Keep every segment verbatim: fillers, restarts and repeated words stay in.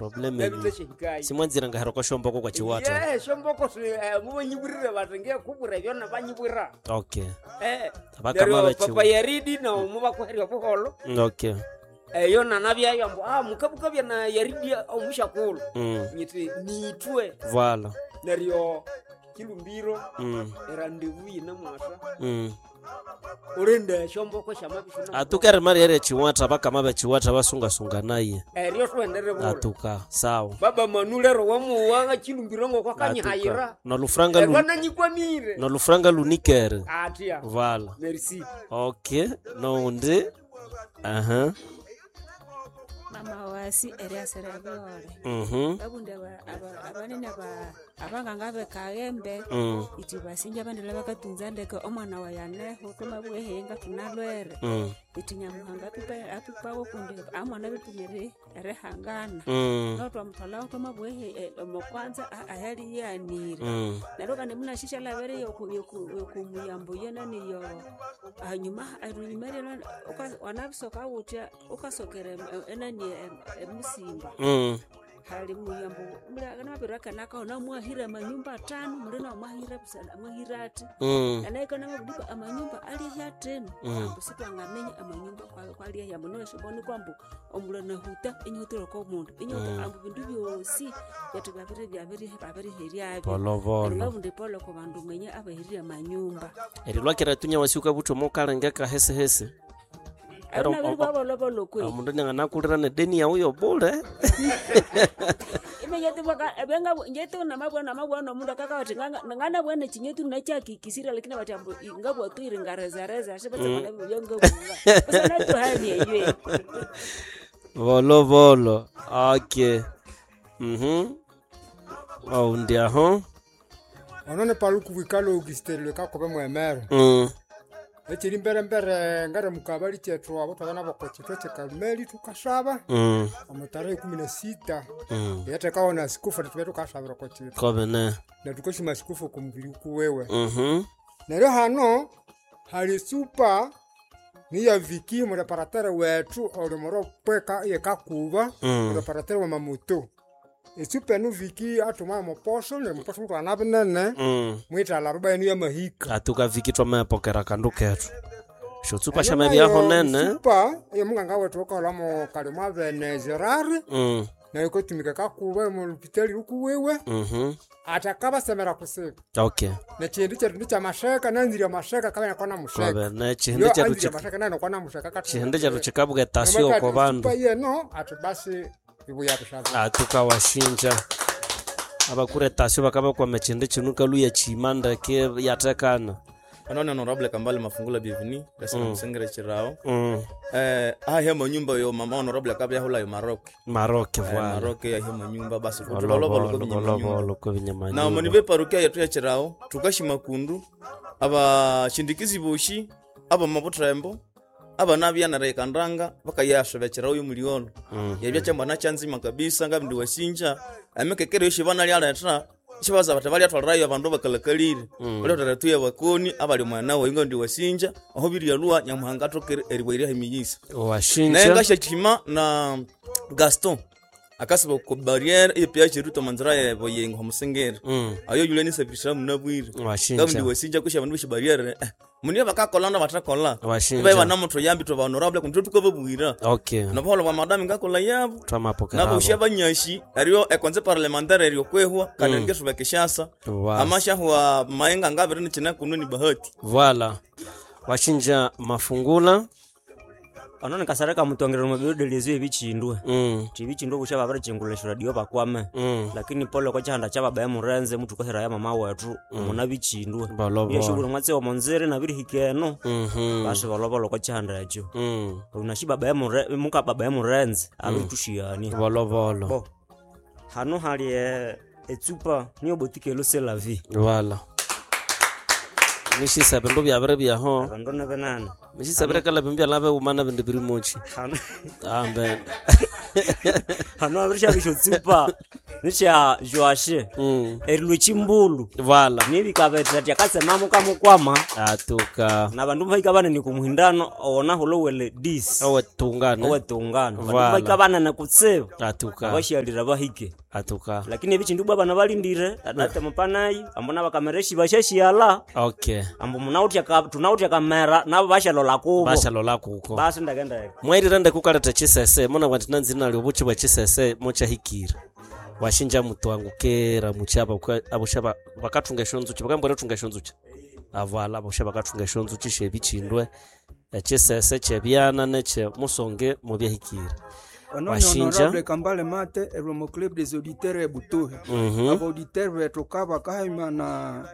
Probleme Nabitashihikayo. Simwanzira ngahera kwa shomboko kwa chiwata. Ye, shomboko si eh, mubanyibwirire bati ngekubwira ebyo nabanyibwira. Okay. Eh, Abakama neryo bachiwa. papa Yaridi na mubakuherya obuholo Okay. eyo nanabyayo ambu ah mukabukabya na Yaridi omushakulu Mm. nyiti nitwe Voilà. neryo kilumbiro Mm. erandevu yine mwasa Mm. urinde shomboko shamabishuna Atuka rimari ere chiwata abakama bechiwata basungasunga naye. eryo twendere bula Atuka sawa. baba manulero wamuwa chilumbiro ngokwakanyihayira Atuka. Nolufranga lu erwananyikwamire nolufranga lunikere. atya Voilà. merci Okay. Noundi. Aha. Mama wasi eriasira byole Mhm. babundi aba- aba- abanene aba- abanganga bekaghembe Mm. iti basinja bandela bakatunza ndeke omwana wayaneho twamabwehenga tunalwere Mm. iti nyamuhanga apipa- apipawo kundi amwana bipimire erihangana Mm. no twamutwalawo twamabwehe omokwanza ahaliyanire Mm. neryo kandi munashisha lavere yokumuyambo yenani yo hanyuma runyuma rero wanabisoka wutya ukasokera em- enani em- emusimba Mm. hali muyambo namabirwakanakaho namwahira amanyumba atano muli namwahira busana mwahira ati Mm. anaikana mabudiba amanyumba alihi ateno Mm. ambu sitwangamenya amanyumba kwa- kwalihi ambu noweshiboni kwambu omulhu nahuta inyihutire komundu inyihuta ambu bindu byosi byathu byabiri byabiri babiriheryabyo Polovolo. ngabundi polo ku bandu mwenye abaherire amanyumba Erilwakira tunya wasiuka buthu mukalengeka hese hese. Ero- abinabiri bwabolobolo kwe Omundu nyanganakulira nedeni yawu yobule. njetu namabwana namabwana omundu akakawati nganabwana chinyetu nachakikisira lakini bati ambu ngabwatwire ngarezareza ashibatsakanabyangabuva usanatuhani eywe Volo volo. Okay. Mhm. Oundi aho. Ono ni paluku wikalo augustin kakobe mwemere Mm. ekiri mbere ngare mukabali kyethu abo twabana boko kitwe kyekarumeli tukasaba Mm. omu tarehe ikumi na sita Mm. yatekawo na sikufu tube tukasabira oko kitwe Kobene. na tukashima sikufu kumubiri kuwewe Mhm. neryo hano hali supa niya viki mureparateri wethu oli muropweka yekakuba Mm. mureparateri wa mamuto esupa enu viki athuma muposho neryo muposho mutwana binene Mm. mwithala ruba yenu yamahika Atuka viki twamapokera kandu kethu. Shotsupa shamabyaho nene. supa eyo munganga wethu ukaholamo kalimo abene gerard Mm. nayo ikatumika kakuba mulupitali lukuwiwe Mhm. ati akabasemera kusiba Okay. nekindu kyethu nikyamasheka nanzire amasheka kabana kona musheka Kobene chihindi yo kyethu anzire chik- amasheka nano kona musheka kati chihindi kyethu chikabuka etasio oko bandu. supa yeno ati basi ibuya tusaba Atuka washinja. Abakura etasio bakabakwama echindi kinu kaluya chima ndeke yatekana. Anone honorable Kambale Mafungula bienvenue lesina musengere chirao Mm. eh ahia manyumba yo mama honorable akabya hula yo Maroc Maroke eh, voilà. Maroc yahia manyumba basi kutuloloba luko binyamanyumba Volovolo ko na monive parukia yetu ya chirao tukashima kundu abashindikizi boshi aba mabutrembo abana byanara ikandanga bakayashoba chirao yo muliolo yabya chambana chanzima kabisa ngabindi wasinja amekekere yoshi bana lyaleta shibaza bati balyatwalirayo abandu bakalakalire balyatwalira tuya bakoni abali mwana wayo ngabindi wasinja aho biryalwa nyamuhanga atokere eribwairya emiyisa naye Washinja. ngashachima na gaston akasiba ku barriere epya chiruto manzira yebo yengo omusengere Mm. ayo yule nisafisha munabwire Washinja. ngabindi wasinja kusha abandu beshe barriere eh, muniyo bakakola na batakola Washinja. bae banamuto yambi to honorable kuntu tukababwira Okay. nobuholo bwa madami ngakola yabo Twamapokera. naboshi abanyashi eryo ekonze parlementaire eryo kwehwa kandi mm. ngeshuba kishasa Wa- amashahwa maenga ngabire nichina kuno ni bahati Voilà. Washinja mafungula. Ono nikasareka mutongero mubidelezo ebichindwe Mm. tibichindwe busha babirichingula radio bakwame Mm. lakini pole kwa chihanda cha baba murenze mutu kahera ya mama wetu muna bichindwe Bolobolo. yeshubula mwatsi omonzere nabirihika eno Mhm. basi bolobolo kwa chihanda ekyo Mm. unashi baba ya mure muka baba ya murenze abiritushiyani Volovolo. bo hano hali eh, etsupa niyo botike lo selavi Voilà. Mishisa bindu byabire byaho. abandu nebenene Mishisa birekala bindu byalabe umana bindu biri mochi. hano Ambe. hano abirishabisha tsupa Nicha Joashe Mm. erilwe chimbulu Vala. nibikabetha ati akatsema mukamukwama Atuka. na bandu bahika banene kumuhindano owona hulowele dis Owetungana. owetungano bandu Vala. bahika banene kutsibu Atuka. abashalira bahike Atuka. lakini ebichindu bwa bana balindire ate mupanayi ambo nabakamereshi bashashiala Okay. ambo munautya ka tunautya kamera nabo bashalola kubo Bashalola kuko. basi ndakendeka Mwairira ndekukaleta chisese muna bwati nanzi nali obuchi bwa chisese mochahikira. Washinja mutu wangu kera muchaba abusha bakathunga eshonzuchi bakambwera thunga eshonzuchi. Avala abusha bakathunga eshonzuchi shebichindwe echisese chebyana neche musonge mubyahikira. Ono ni Washinja. honorable Kambale Mate eromo club des auditeurs e Butuhe. Mhm. Aba auditeur betu kaba kahima na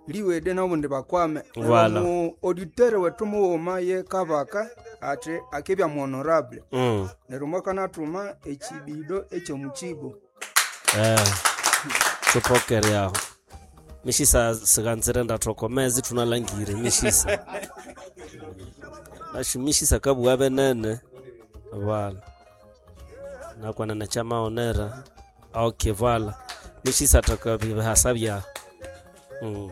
liwede nobundi bakwame. Voilà. Mu auditeur wetu muwoma ye kabaka ate akebya mu honorable. Mm. Neryo mwakanathuma echibido ekyomukigo. Eh. Tupokere aho. Mishisa siganzire ndathokomezi tunalangire mishisa. Nashu mishisa kabuwa benene. Vala. Nakwana na chama onera. Okay, vala. Mishisa takabihasa bya. Mm.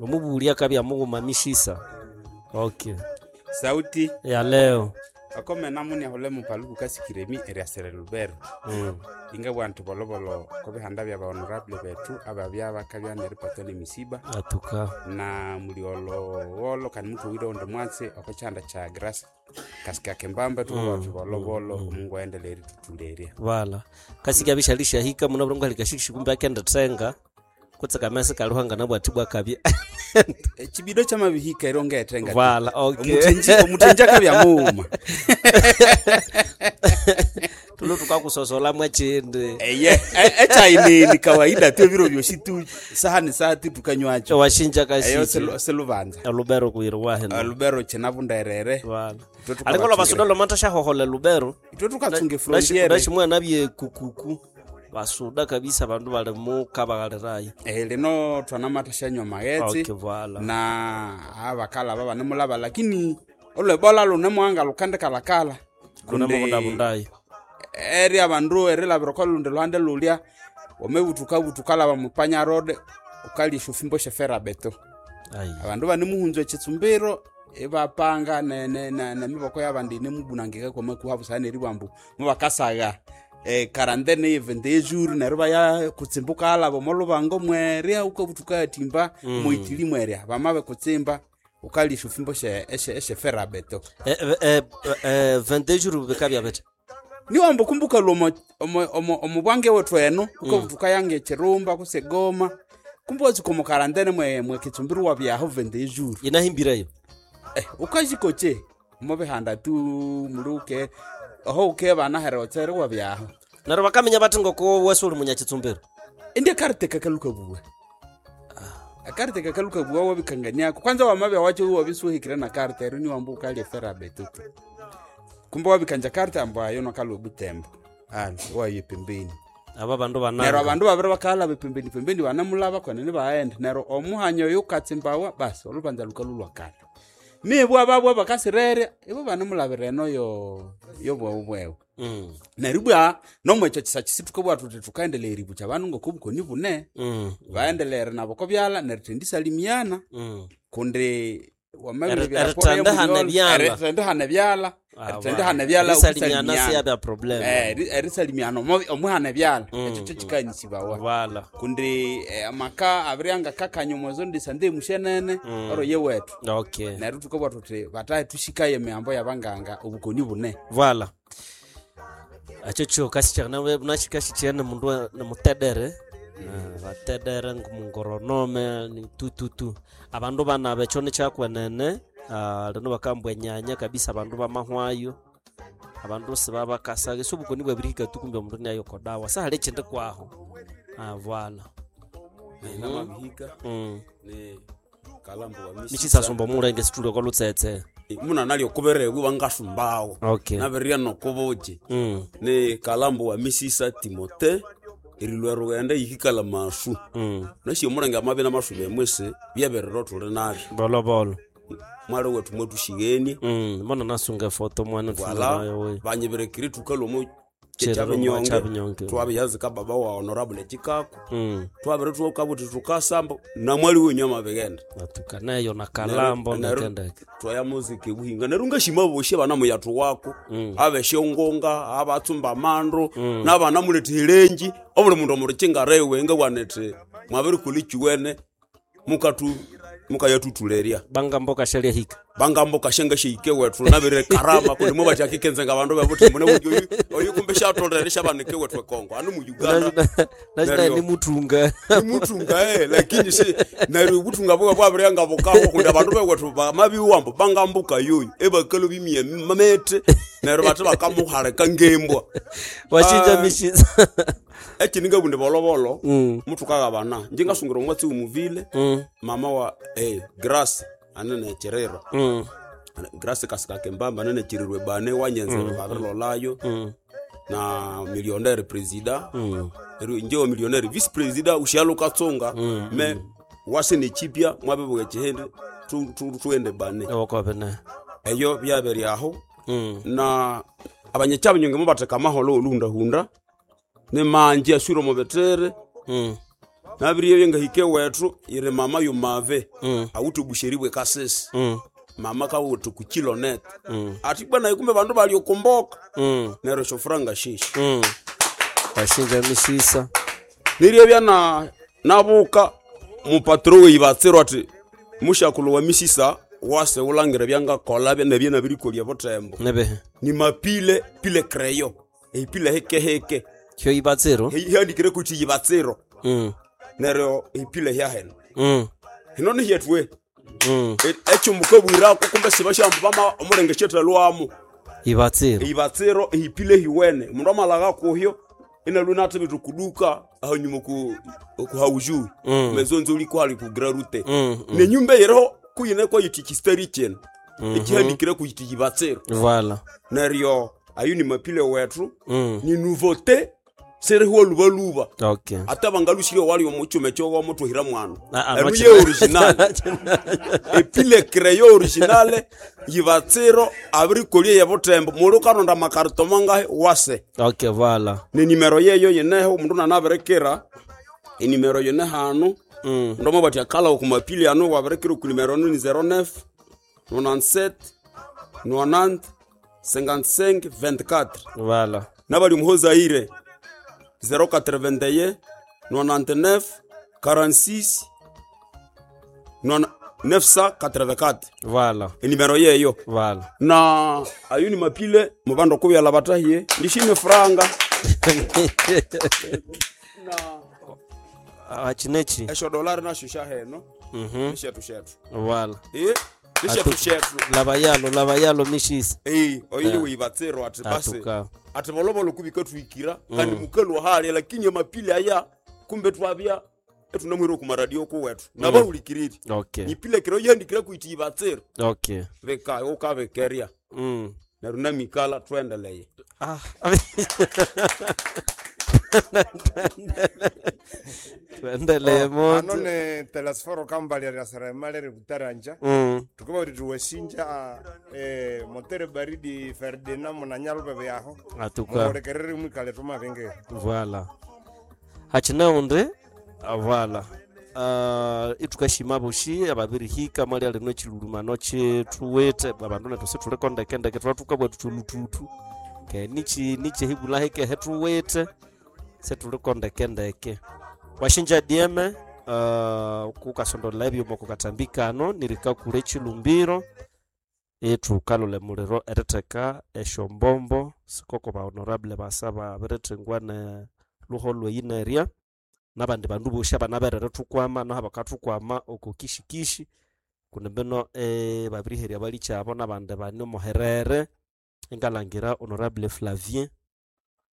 Omubulia kabya muguma mishisa. Okay. Sauti Ya leo. akomena muni ahole mupaluku kasikiremi eriasere lubero Mm. inga bwantu bolobolo kobihanda bya bahonorable betu ababya bakabya neripatwa nemisiba Atuka. na muliolowolo kandi mutuwire onde mwatsi okochanda cha grass kasika kembamba tukubantu bolobolo omungu aendelee eritutuleria Vala. Kasika bishalisha hika muna burungu halikashikisha kumbe akenda tsenga. Kutsaka mesa kaluhanga nabwati bwakabya. echibido chamabihika ero ngetenga Vala, okay. omuthenji omuthenji akabya muuma Tulo tukakusosola mwachindi. eye echaini ni kawaida tu ebiro byosi tu saha ni saha tu tukanywacho Washinja eyo kashiki. silu- silubanza Lubero kuirwa lubero chinavunderere Vala. Itwe tukabatsungira- Alingo basuda lomata shahohola lubero. itwe tukatsunga efrontiere Ndashimwa nabye kukuku. Basuda kabisa bandu bali mu kabagalirayo. Eh, lino twanamata shanywa maghetse Okay, vala. na abakala aba banemulaba lakini olwebola lunemwanga lukandikalakala Kuna mabundabundayo. eri abandu erilabira oko lundi luhande lulya wamebutuka laba mupanya road ukalisha ufimbo shefera beto Ai. abandu banemuhunza ekitsumbiro ibapanga ne- ne- ne- nemiboko yabandi inemubunangika kwamakuha busana eribwambu mubakasaga eh, karantene yevende yejuru neryo baya kutsimbuka alaba omolubango mwerya ukabutuka yatimba mm. moitili mwerya bamabe kutsimba ukalisha ufimbo she- eshe- eshefera beto Eh eh eh vingt-deux jours bikabya bete. niwamba kumbuka lwomo omubwange wethu eno ukabutuka yange echirumba kusegoma kumbe watsuka omu karantene mwe mwekitsumbiro wabyaho vende yejuru Inahimbirayo. eh, ukazikoche mubihanda tu muli uke oho uke bana here otsere wabyaho Naro bakamenya bati ngoko wese uli munyakitsumbiro. indi akarite kakaluka buwe akarite kakaluka buwe wabikanganiako kwanza wamabya wacho wabisuhikire na karite ero niwamba ukalya fera betutu kumbe wabikanja karite ambo ayo nokalwa obutembo ali waye pembeni Aba bandu nero bananga. abandu babiri bakalaba pembeni pembeni banamulaba kwenene baghenda nero omuhanya oyo ukatsimbawa basi olubanza lukalulwakala mibwa babwa bakasirere ibo banamulabira eno yo yobwewu bwewu Mm. neryo bwa nomwekyo kisa kisithukabwa thuthi thukaendelea eribukya abandu ngokobukoni bune Mm. baendelere nabo kobyala nerithendisalimiana Mm. kundi Eri- erithendehana ebyala. erithendehana ebyala erithendehana ebyala Erisalimiana okusalimiana. siyabya problem. Eh, eri- erisalimiana omo- omuhana ebyala Mm, ekyo kyo kikanyisibawa Vala. kundi eh, amaka abiri angakakanya omwezo ndisande emushenene oro ye wethu Okay. neryo thukabwa thuthi batahe thushikaye emihambo yabanganga obukoni bune Vala. Acho cho kasichana nashikashichene mundu wa- ni mutedere. Eh, Batedere ngumungoronome ni tututu. Abandu banabe cho ni kyakwenene. Ah, lino bakambwa enyanya kabisa abandu bamahwayo. Abandu sibabakasaga sobukoni bwabirihika tukumbe omundu niayokodawa sahali ekindi kwaho. Ah, vala. namabihika Mm. ni kalambo wa Mishisasomba omulenge situlio kolutsetse. muna nalyo kuberegwe bangasumbawo Okay. nabiria nokubuki Mm. ni kalambo wa misisa timote erilwa rugenda yihikala masu Mm. nasi omulenge amabi namasuba emwese byeberero tuli nabyo Bolobolo. mwali wetu mwetushigenie Mm. Mbona nasunga efoto mwana wala tunayo we. banyiberekire tukalwa omu Kyabinyonge Kyabinyonge. twabiyazika baba wa honorable Chikako Mm. twabiri tukabuti tukasamba namwali wenyu amabighenda Atukaneyo na Kalambo Neru- ndekendeke twaya muzika ebuhinga neryo ngashima boshi abana muyathu wako Mm. abeshongonga abatsumba amandu nabana muletha elenji obuli mundu omurukinga ngabwanete mwabirikolha ekiwene mukatu mukayathutulerya bangambo kashalya hika bangambo kashenga sheike wethu nabire karama kundi mubakyakikenzenga abandu bebuthimbu oyu oyu kumbe shatolere shabanike wethu ekongo anu mu Uganda nachinaye Neryo- ni mutunga nimutunga eh lakini si neryo obutunga bwe bwabirya bukaho kundi abandu bewethu bamabiwambo bangambuka yoyo ebakalo bimye mamete neryo bate bakamuhaleka ngembwa washinja Ah. mishiza ekini ngabundi bolobolo Mm. muthukagabana nje ngasungira omwatsi wumuvile Mm. mama wa eh grace anene chiriro Mm. grace kasikakembamba anene chirirwe bane wanyenzere mm. babirilolayo Mm. na millionnaire presida Mm. neryo inje wa millionnaire vice presida ushyalo katsunga me wase nechipya mwabibuga chihindi tu- tu- tuende bane ewakobene eyo byabere aho Mm. na abanyekyabinyonge mubatheka amaholo oluhundahunda nimanji aswire omubitere Mm. nabiriyo ngahike wethu yiri mama yumave Mm. awithe obusheri bwe kasisi Mm. mama kawithe kukilonet Mm. ati bwana kumbe bandu bali okumboka Mm. neryo shofuranga shishi Mm. washinja mishisa niryebya na nabuka mupatro weibatsirwa ati mushakulu wa misisa wase ulangira byangakola nebye nabirikolya butembo nebehe ni mapile pile kreyo eipile hekeheke kyo ibatsiro hiandikire kuti yibatsiro Mm. neryo ipile hyaheno Mm. hino nihyetwe Mm. ekyomukabwirako kumbe sibashambu bama omulenge shethalwamo ibatsiro ibatsiro ihipile hiwene omundu amalaga kuhyo inalu nathibitha kuduka ahanyuma ku kuhaujui Mm. mezonzo liko hali kugira rute Mm, mm. nenyumba yiriho kuyine kwayiti chistari chino ekihandikire kuyiti yibatsiro Voilà. neryo ayo ni mapile wethu Mm. ni nouveauté siriho lubaluba Okay. ate bangalushire wali omuchume kyowa mutuhira mwana Ah, ah, enu nochi- ye original epile creyo original yibatsiro abirikolye yebutembo muli ukaronda makarito mangahe wase Okay, voilà. ni nimero yeyo yineho omundu nanabirikira enimero yine hanu Mm. mundu amabati akala okumapili ano wabirikira okunimero anu ni zero nine nonante-sept nonante cinquante-cinq vingt-quatre Voilà. nabali muhozaire zero quatre-vingt-un nonante-neuf quarante-six neuf cent quatre-vingt-quatre Voilà. enimero yeyo Voilà. na ayo ni mapile mubandu okubyala batahiye ndishine franga Ah, chinechi. esho dolari nasho shaheno Mhm. nishetu shetu Voilà. Eh, nishetu Atu- shetu Lava yalo, lava yalo mishisa. Eh, oyo ni weibatsiro ati basi Atuka. ati bolobolo kubika twikira kandi mukalwa hali lakini amapile aya kumbe twabya etunamwire kumaradio kuwetu nabahulikiriri Okay. nipile kiro yandikira kuiti ibatsiro Okay. veka ukavekeria Mm. neryo namikala twendeleye Ah. Tuendelee Ano moto. ni telesforo kambali lya seremali ributaranja Mm. tukuba kuti tuwesinja eh, motere baridi Ferdinand munanyalubebe yaho Atuka. muhulikerere mwikale tumavengere Voilà. Hachinaundi voilà. Uh, itukashima boshi ababirihika mwali alino chilulumano chithuwithe abandu nethu situlikondekendeke twathuka thuluthuthu ke nichi nichihibula hikehe thuwithe situlikondekendeke washinja dieme uh, kukasondolela ebyuma kukatambikano nirikakula echilumbiro ithukalula emuliro eritheka esyombombo sikoko ba honorable basa babirithengwa ne luho lweyinerya nabandi bandu bosi abanaberere thukwama naho bakathukwama oko kishikishi kundi mbino eh, babiriherya balikyabo nabandi bane omuherere engalangira honorable Flavien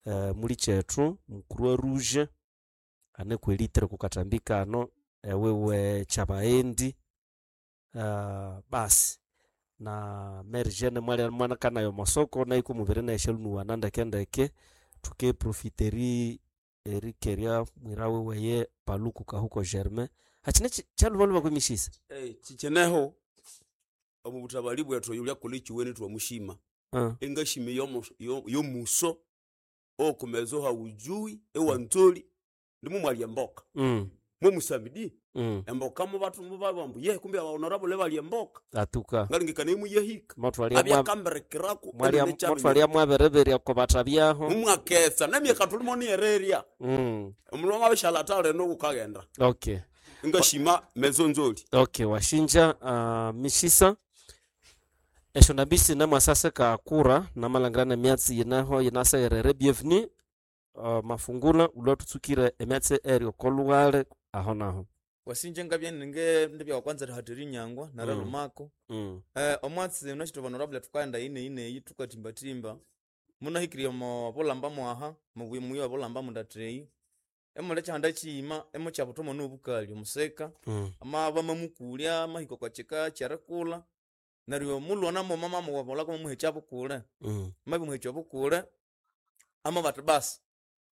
eh, mulikyethu mukuru wa rouge ane kwelitere kukatambikano ewiwe kyabaendi uh, basi na Mary Jane mwali mwanakanayo masoko naiko mubiri naishalunuwana ndekendeke tukeprofiteri erikeria mwira weweye paluku kahuko Germain hachine kyalubaluba kwemishisa hey, chicheneho omu butabali bwethu oyo lyakola ekiweni twamushima uh. engashima yomu- yo- yomuso Okumezo haujui ewanzoli ndimumwalya emboka. Mm. Mwemusamidi Mm. emboka mubatu mubabambu ye kumbe abahonorable balya emboka. Atuka. Ngalengekana imuyahika. Motwalya mwa- Abyakambirikirako Mwalya enene kyabya- motwalya mwabereberya kobatabyaho. Mumwaketsa nemyaka tulimo niyereria. Mm. Omulimo wabishala atale nokukaghenda. Okay. Ngashima mezo nzoli. Okay, washinja uh, mishisa esho ndambisi namwasase kakura namalangira nemyatsi yinaho yinasegerere bienvenue uh, mafungula ulwatutsukire emyatsi eryo kolughale aho naho. Wasinje ngabya ninge ndibya kwanza rihatiri nyangwa naralumako. Mm. Eh omwatsi unashitwa honorable tukaenda ine ine iyi tukatimbatimba munahikirya omo bulamba mwaha mubuyi muyi wa bulamba mundatreyi emule kyahanda kiyima emo kyabutomo nobukali omuseka. Mm. Amaba mamukulya amahika kwa kika kyerikulha neryo mulwana moma mamuwabolako mamuhekya bukule. Mm. Mabimuhekya obukule ama bati basi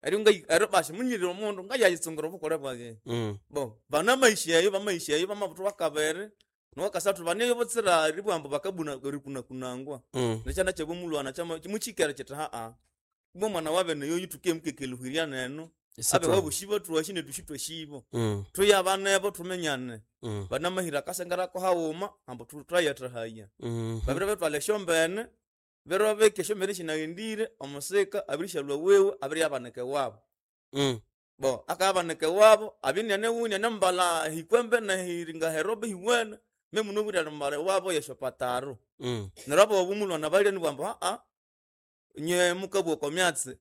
eryo ngai eryo basi munyirire omundu ngayayitsungira obukule bwaye. Mm. Bo banamaisha eyo bamaisha eyo bamabuthu wakabiri nowakasathu baneyo butsira ribwambu bakabuna rikunakunangwa. Mm. Nekyana kyabomulwana kyama mukyikere kyithi haa ibwa omwana wabene yoyu tukemkekeluhirya nenu Isi abe twa- wabushi batwashi netushi twashibo. Mm. Tuyabanebo tumenyane. Mm. Banamahira akasengerako haghuma ambu thayatahaya. Mhm. Babiri betwala esyombene biro bika esyombene sinaghendire omusika abirishalwa wewe abiriyabanika ewabo. Mm. Bo akayabanika ewabo abiniane wuniane mbala hikwembe nehiringa herobe hiwene memunobwire mbala ewabo yeshopataro. Mm. Neryo abo obumulwana balya nibwambu haa nye mukabwa okwa myatsi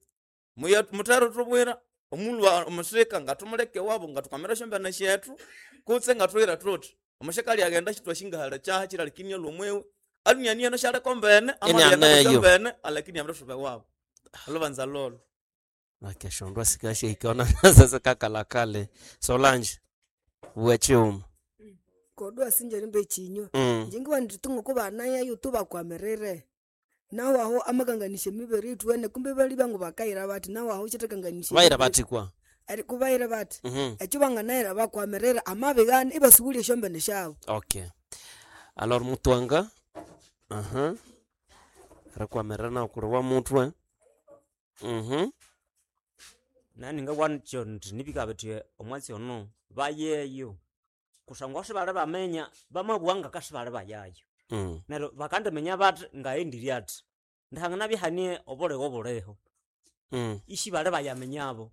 muya muthere thubwira omulwa omusika ngathumuleka ewabo ngatukamira esyombene syethu kutse ngathuhira thuthi omusika alyaghenda sithwashingahala kyaha kyiralikini alhomwewe alunianiano syaleka mbene amaghenda Inianeyo. mbene alakini amrithuba ewabo olhubanza lolo. Nakeshondwa sikashihikaona sasa kakalakale Solange wechiuma. Kodwa sinje rimbe chinywa. Mm. Njingiwa nditunga kuba naye tubakwamiririre nawo aho amakanganisha emibere ithuwene kumbe bali bangu bakayira bathi nawo aho kyithakanganisha Bayira bathi kwa. Eri kubayira bathi Mhm. ekyo banganayira bakwamirira amabigana ibasubulya esyombene syabo. Okay. Alors mutwanga. Aha. Rekwamirira kuri wa mutwe. Mhm. Nani ngabwancho nti nibika bithi omwatsi ono bayeyo kusangwa sibali bamenya bamabugha ngakasibali bayayo. Mm. Neryo bakandiminya bathi ngayendirye athi ndihangana bihanie obuligo buliho. Mm. Isi bali bayamenyabo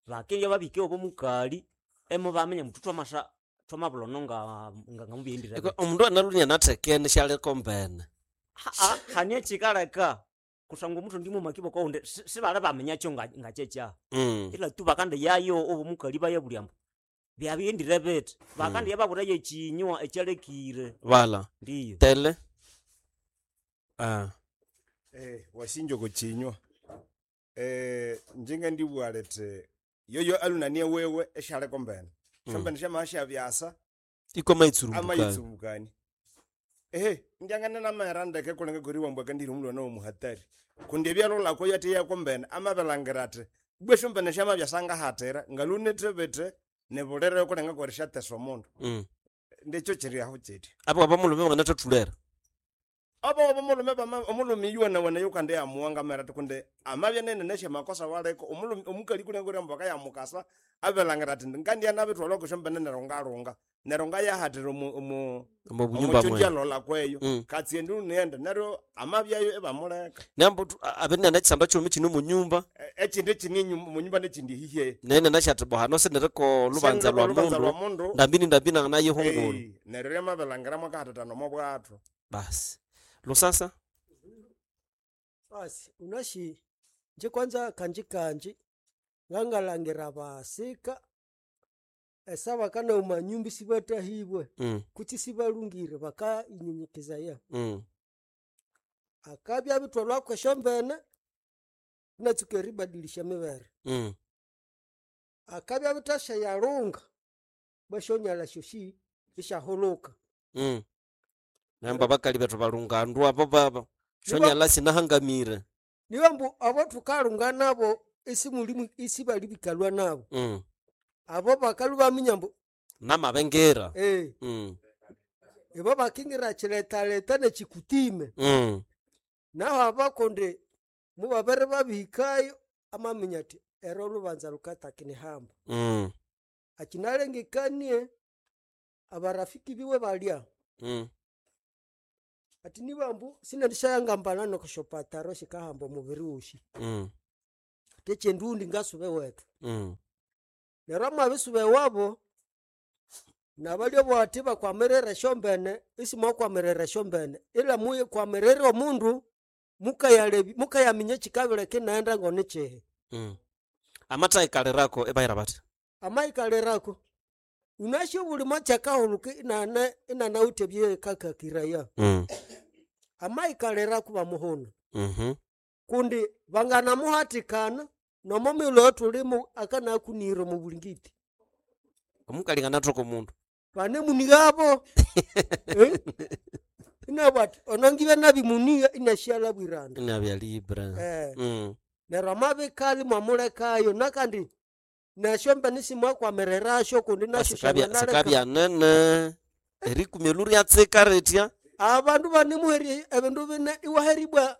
bakendya babike obo mukali emubaminya muthu twamasa twamabulono nga nga ngamubiyendire. Eko omundu analunia nathekene syaliko mbene. Haa hanie kyikaleka kusangwa omuthu ndimumaki bokoundi sibali baminyakyo nga ngakyekya. Mm. Ila tu bakandiyayo obo mukali bayabulya ambu byabiyendire bithi bakandiya baburayo ekinywa ekyalekire. Wala. Ndiyo. Tele. Ah. Eh, wasinja okukinywa. Eh, njinga ndibugha lithi yoyo alunanie wewe esyaliko mbene. Mm. Esyombene syamabya syabyasa Iko maitsurumbukani. amaitsumbukani. Ehe, ndyangana namahera ndeke kulenga kuri wambwa kandiri omulwana womuhatari. Kundi ebyalolako yathi yako mbene amabilangira athi bwe esyombene syamabyasa ngahathira ngalunithe bithi nibulire kulenga kuri syathesa omundu. Mm. Ndekyo kiri aho kyithi. Abo abamulume banganathathulera. Abo omulume bama omulume yuwana yukande yamuwanga mera ati kundi amabya nene nesyamakosa waliko omulume omukali kulenga kuri ambwa akayamukasa abilangira ati ngandya nabithwalha okusyombene neryo ngalunga neryo ngayahathira omu omu Omu bunyumba omukyokya mwe. lola kweyo Mm. katsi endulu niyenda neryo amabyayo ibamuleka. Nambu abene nekisamba kyumi kino munyumba. E- Ekindi kini munyumba nekindi hihe. Nene nashathi bohano siniriko lubanza Siniriko lwa lubanza mundu. lwa mundu. Ndambini ndambini nanganaye hungulu. Eh, neryo lyamabilangira mwakahathatana omo bwathu. Basi. Lusasa? Basi unashi nje kwanza kanji kanji ngangalangira basika esaba kana umanyumbi sibatahibwe. Mm. Kutsi sibalungire bakainyenyekezaya. Mm. Akabya bitwalwako esyombene inatsuka eribadilisha emibere. Mm. Akabya bithasya bwasyonyalha syosi isyahuluka. Mm. Namba bakali bethu balungandu abo baba. Shonyala sinahangamire. Niwe mbu abo thukalunga nabo isimulimu isibalibikalwa nabo. Mm. Abo bakalhu baminya mbu Namabengera. Eh. Mm. Ibo bakingira kyiletaleta nekyikutime. Mm. Naho abakundi mubabere babihikayo amaminya athi ero olubanza lukatakinihamba Mm. akinalengekanie abarafiki biwe balya Mm. ati nibambu sinendishayangambana nokushopataro shikahamba omubiri wosi Mm. ati ekyendundi ngasuba ewethu Mm. neryo amabisuba ewabo nabalya bwati bakwamirira esyombene isimwakwamirira esyombene ila muyikwamirira omundu mukayalebi mukayaminya ekikabireka inaghenda ngonikihi Mm. Amathayikalirako ebayira bathi. amayikalirako unasyo buli mwakyakahuluka inana inanawithe ebyekakakiraya Mm. amayikalirako bamuhuna Mhm. kundi banganamuhatikana nomo mighulhu eyathulimu akanakunira omu bulingiti Omukali nganathoka omundu. banemunighabo Eh? inabwa ati onongibya nabimuniga inasyalabwiranda Inabya libra. Eh. Mm. neryo amabikali mwamulekayo nakandi nesyombene simwakwamiriraasyo kundi nasyo Sikabya syanganaleka sikabya nene. Erikumya luryatsika ritya. abandu banemuherya ebindu bine iwaheribwa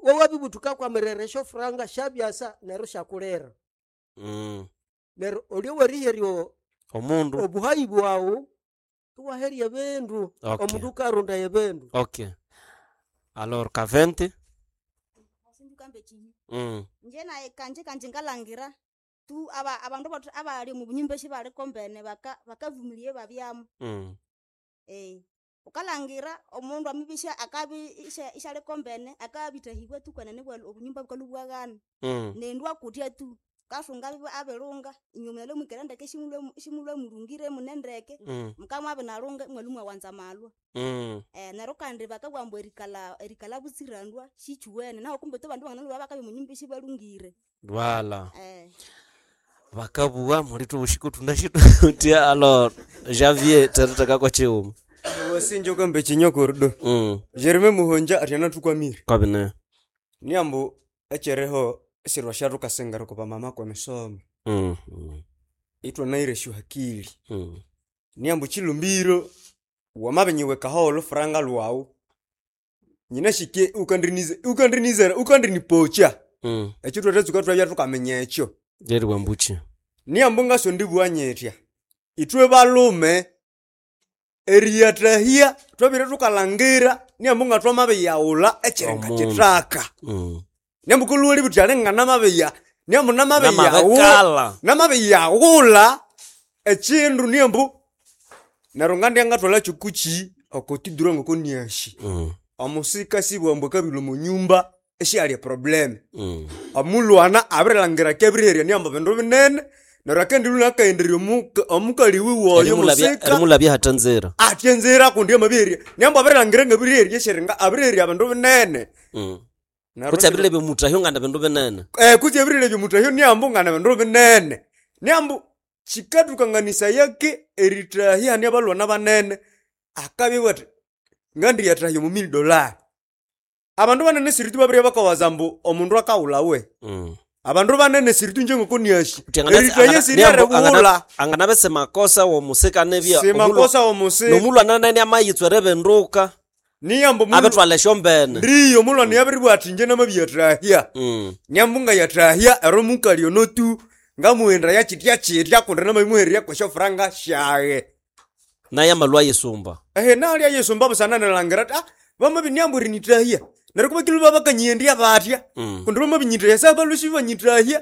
wawabibutuka kwamirira esyofuranga syabyasa neryo syakulira Mm. neryo olyo weriherya Omundu. obuhayi bwawu iwaherya ebindu Okay. omundu ukarondaya ebindu Okay. Alors kavente. Sindukambe kinyi Mm. nje naye kanje kanje ngalangira tu aba abandu bothe abali omu bunyumba esibali mbene baka bakavumilia babyamo Mm. eh ukalangira omundu amibisha akabi isha ishaliko mbene akabithahibwa tu kwenene bwa obunyumba bukalubwaghana Mm. nendu akutya tu kasunga abibe abirunga inywe mwalwe mwikere ndeke shimulwe shimulwe mulungire munendeke Mm. mukamwabya nalunga imwalwe mwawanza amalwa Mm. eh neryo kandi bakabugha ambu erikalha erikalha butsirandwa sikyuwene naho kumbe tu abandu banganalwa bakabya omunyumba isibalhungire Voilà. eh Bakabugha muli thubushiko thunashitutya alors Javier teritheka kwa chiwuma. Wasinja ukambe chinyokorido Mm. Jereme Muhonja athi anathukwamire Kwabine. niambu ekyeriho esirwa syathukasingira oko bamama kwemisomo Mm. ithwanaira esyohakili Mm. niambu chilumbiro wamabinyiwekaho olufuranga lwawu nyinashike ukandinize ukandinizera ukandinipocha Mm. ekyo thwathatsuka twabya thukaminya ekyo Jerry Wambuchi. niambu ngasondibugha nyithya ithwe balume eriyathahya twabire thukalhangira niambu ngathwamabiyaghulha ekyiri ngakithaka Mm. niambu kulhuwa libuthi alinga niambu Namabikala. namabiyaghulha ekindu niambu neryo ngandya ngathwalha kyokuki okotidura ngokoniashi Mm. omusika sibwa ambu akabilwa omonyumba esiyali eproblem Mm. omulwana abirilhangira kebiriherya niambu bindu binene neryo akendiluna akaenderya omuka- omukali wiwe oyo Erimulabya musika erimulabya hathanzira. atya enzira kundi amabiherya niambu abirilhangira ngabiriherya eshiringa abiriherya bindu binene Mm. Neryo Kutsi abirilebya omutahyo ngana bindu binene. eh kutsi abirilebya omutahyo niambu ngana bindu binene niambu kikathukanganisayake erithahya hani abalwana banene akabya athi ngandiyathahya omu mili dolari abandu banene siritu babirya bakawaza ambu omundu akawulhawe Mm. abandu banene siritu njengokoniashi Kuti angana- erithahya angana- siri niambu erighulha angana- anganabe simakosa womusika nibya Simakosa womusika. nomulwana nene amayitswa eribenduka niyambu abithwala esyombene ndiyo omulwana yabiribwa athi inje namabiyathahya Mm. niambu ngayathahya ero mukali ono tu ngamughenda yakyitya kyitya kundi namabimuhererya kwesyofuranga syaghe naye amalwa ayisumba ehe nalya yisumba busana nilhangira athi ah bamabiniambu erinithahya neryo kubakilu babakanyiyendya batya Mm. kundi bamabinyithahya sabalusi banyithahya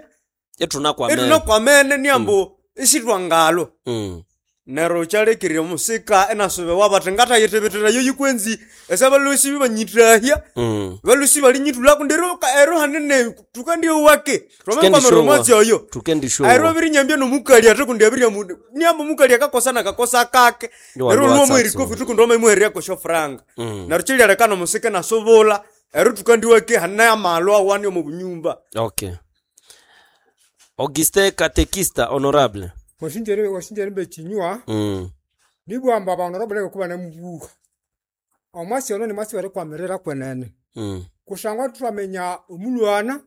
ithuna ithuna niambu isithwangalwa Mm. neryo kyalekirya omusika inasubiwa bathi ngathayithibithira yikwenzi esabalusi banyithahya Mm. balusi balinyithulha kundi ero ero hanene tukandiyowake twamakwamira Tukendisyowa. omwatsi oyo Tukendisyowa. ero abirinyambya nomukali ate kundi abirya mundu niamba omukali akakosa nakakosa kake Yo, neryo walwa olwomu tsatso. erikofi tukundi wamaimuhererya kwesyo franga Mm. neryo kyilyaleka nomusika inasubula ero tukandiwake hane amalwa awani omu bunyumba Okay. Auguste katekista honorable. wasinjere wasinjere mbe chinywa Mm. nibwamba abandu kuba namubuka omwasi ono nimwasi werikwamirira kwenene Mm. kusangwa twamenya omulwana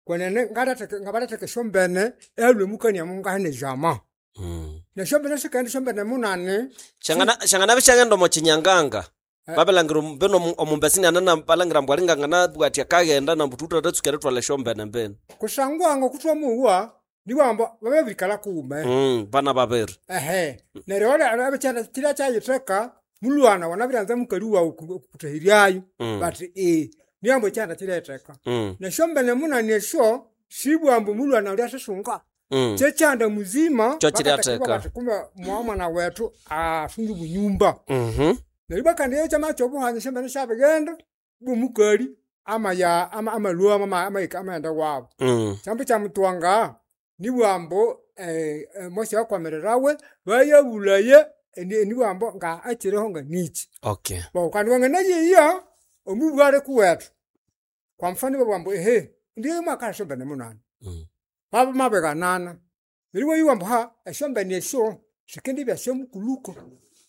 kwenene ngalatheka- ngabalatheka esyombene ealwe mukania mungahene jama Mm. nesyombene sikaghenda esyombene munane Shangana shangana bishangenda omo chinyanganga. Babelangira beno omumbesi nana balangira mbw alingangana bwati akaghenda nambu tuthathatsuka eritwala esyombene mbene. Kusangwa ngokutwa muwa niwamba babirikala kuwume. Mm, bana babiri. Ehe, neryo wala abikyana kirya kyayitheka mulwana wanabiryanza mukali wawu kutahiryayo Mm. but eh niambo ekyanda kiretheka. Mm. Nesyombene munani esyo sibwambu mulwana ulya sisunga. Mm. Kyekyanda muzima Kyo kiryatheka. bakatheka bati kumbe mwa mwana wethu asunga obunyumba. Mhm. Neryo bakandi ekyama kyobuhanya esyombene syabighenda bwomukali amaya ama- amalhwamo ama- amahika amaghenda wabo. Mm. Kyambu kyamutwanga nibwambu eh, eh, Mose yakwamirirawe bayabulaya eni- enibwambu nga akiriho nga niki. Okay. Bo kandi wanganayiya omubwale kuwethu. Kwa mfano babwambu ehe ndiye mwaka esyombene munani. Mm. Baba mabiganana. Neryo wayiwambu ha esyombene esyo sikendibya syomukuluko.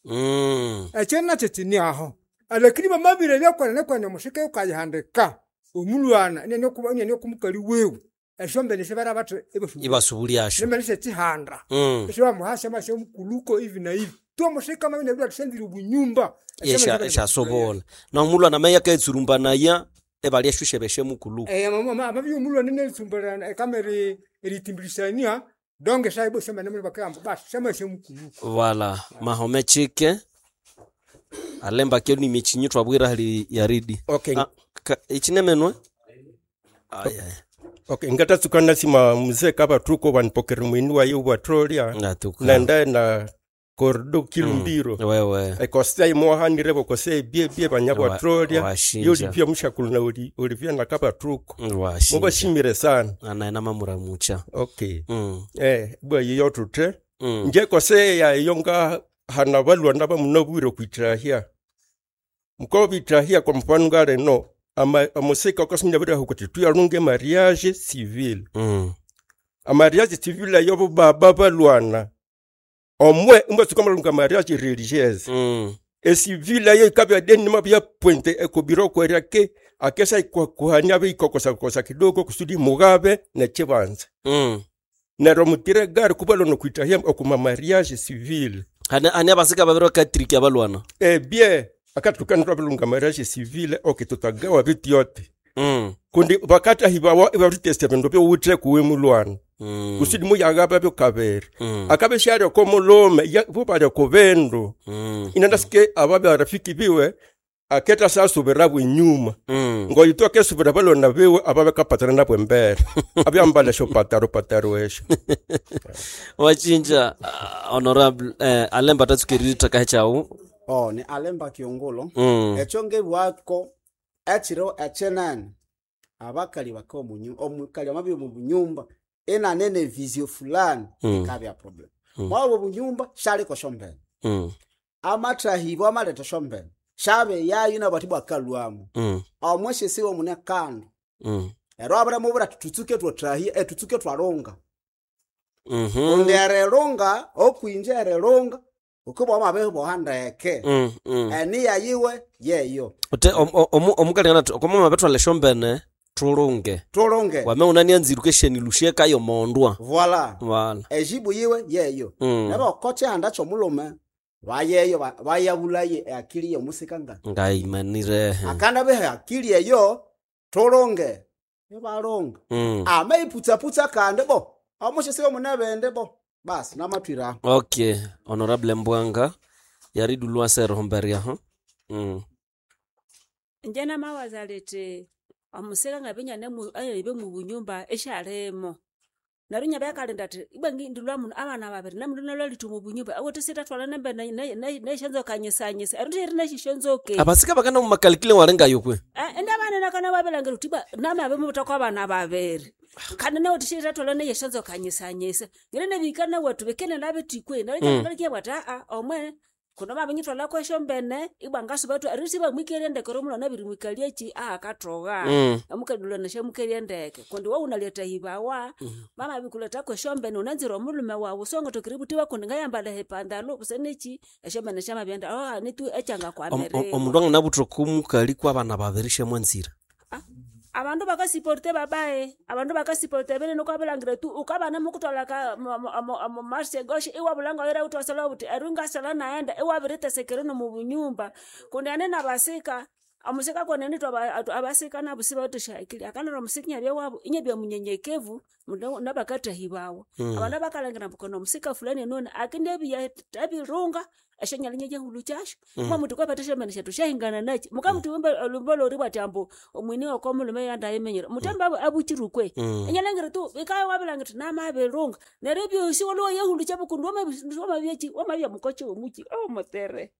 Mm. Ekyo nakyo kini aho. Lakini bamabire byakwanene kwene omusika ukayihandika omulwana inene kuba inene kumukali wiwe esyombene sibara bathi Ibasubulyasyo. nembene syekihanda Mm. esibamuhasya masya omukuluko hivi na hivi tu omusika mabine bya tusenzire obunyumba Esha eshasobola. Na omulwana meya ketsurumbanaya ebalya shushebeshe mukulu. eh amabi omulwana netsumbana ekamere eritimbilisania donge saibo syombene muri bakamba basi syamasya omukuluko Wala mahome chike alemba kyo ni michinyi twabwira hali yaridi. Okay. Ah, ka- ichinemenwe? Ay ay. Okay, ngatatsuka nasima mzee kabathuko vanipokere mwini waye ubwatrolya Natuka. nenda na kordo kilumbiro Mm, wewe ekosea imohanire bokosea ebyebye banya Wa- bwatrolya washinja. yolivya mushakulu na oli- olivya na kabathuko Washinja. mubashimire sana Anaena mamuramucha. okay Mm. eh bwa yiyo tuthe Mm. nje kosea iyo nga hana balwana bamunabwire kwitahya mko bitahya kwa mfano ngaleno ama amusika okasumya bira hukuti tuyalunge mariage civil mm. amariage civil ayo baba balwana omwe imbasuka malunga mariage religieuse mm. esivile ayo ikabya deni mabya puente ekobiro kwerya ke akesa kuhanya bikokosa kidogo kusudi mugabe nechibanza Mm. neryo mutire gari kuba kwitahya okuma mariage civil Hane ane abasika babiri bakatriki abalwana. ebye akatukanirwa bilunga mariage civil okay tutagawa bitu yote Mm. kundi bakatahibawa ibaruteste bindu byowuthe kuwe mulwana Mm. kusudi muyagaba byokabere Mm. akabe syalya ko mulome ya- bo balya ku bindu Mm. inandasike aba barafiki biwe aketa sasubira bwenyuma Mm. ngoyito akesubira balona biwe aba bakapatana nabwo embere abyambala esyo pataro pataro esyo Wachinja uh, honorable eh, alemba tatsukirira kahechawu. Oh, ni alemba kiongolo Mm. ekyo ngebwako ekiro ekyenene abakali baka omunyu omukali amabi omu bunyumba enanene vizio fulani Mm. ikabya problem Mm. mwabo bunyumba shaliko shombene Mm. amathahibwa amaletha shombene shabe yayo nabati bwakalwamu Mm. omweshesiwe mune kando Mm. ero abaramubura tutsuke twathahia etutsuke twalunga Mhm. undi erilunga okwinja erilunga ukubwa amabiboha ndeke Mm. Mm. eniya yiwe yeyo Ute omukali ngana okoma mabetwala esyombene tulunge. Tulunge. Wame unanianziruka esheni lusheka yo mondwa. Voila. Wala. Ejibu yiwe yeyo Mm. nabo kochihanda kyomulume bayeyo ba- bayabulaye akili yomusika nga Ngaimanire. akanda behe akili eyo tulunge nibalunga Mm. amaiputsaputsa kandi bo omushisiwe munebende bo basi namatwiraho Okay, honorable Mbwanga yaridulwa sero homberia ho. Mm. Inje namawaza liti omusika ngabinya nemu- mubunyumba eshalimo neryo inyabya kalinda athi ibwa ndilwa muno abana babiri namundu nalwalitha omu bunyumba awathe sitatwala nembe nesyanzoka nyisanyisa erindu eri neshisyonzoke Abasika bakana mu makalikile walengayo kwe. indi abana nakana babilangira uthi ibwa namabe mubutha abana babiri kandi nawe tishitatwala neyesyanzoka nyisanyisa ngine nebihika nawethu bikine nabithikwe Mm. neryo bwati aa omwe kuno babinyithwalako esyombene ibwa ngasuba erisi bamwikerye ndeke ori omulwana abirimwikalya eki ahakathoga Mm. omukalilwana syamukerye ndeke kundi wawunalyathahibwawa mamabikulethako esyombene wunanzire omulhume wawu songatokere buthi kundi ngayambalha epandalo busa neki esyombene syamabyenda oh nitu ekyangakwamirira Omundu anganabutha okumukali kwa abana babiri syamwanzira. Abandu bakasiporte babae, abandu bakasiporte binene wukabilangira tu wukabana mukutwalha omo marshe egoshe iwabulha ngoyira wuthi wasalha wuthi eri ngasala naghenda iwabirithesekera nomo bunyumba. Kundi hane nabasika, omusika kwenene ithwe abasika nabu sibawithe esyaakili, akanaleka omusika inabya wabu inabya munyenyekevu nabakathahibawa. Mm. Abandu bakalhangira ambu koni omusika fulani enune akendiabya ebirunga esyanyalha inayahulukyasyo. Mm. Mubabugha muthi kwepetha esyombene syethu syahingana nakyi? Mukabugha muthi olhwimbo lweribugha athi ambu omweni woko mulhume yandayimenyera, muthembe abukire kwehi? Mm. Inalhangira tu wukabya wabirilhangira wuthi namabilunga, neryo ebyosi iwalhwa iwayahulukya kundi wamabya wamabya mukochi womukyi owomutere.